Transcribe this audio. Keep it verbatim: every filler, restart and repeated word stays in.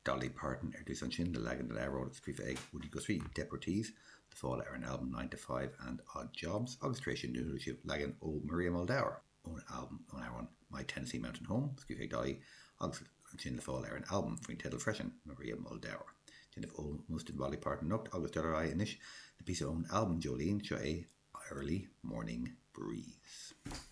Dolly Parton ar dtús ansin le leagan den amhrán scríofa ag Woody Guthrie, Deportees, le fáil ar an albam Nine to Five and Odd Jobs, agus tar éis sin chuala sibh leagan ó Maria Muldaur ón albam ón amhrán My Tennessee Mountain Home, scríofa ag Dolly, agus ansin le fáil ar an albam faoin teideal freisin, Maria Muldaur. Déanamh ómós do Dolly Parton anocht agus dul ar aghaidh anois le píosa ón albam Jolene, seo é Early Morning Breeze.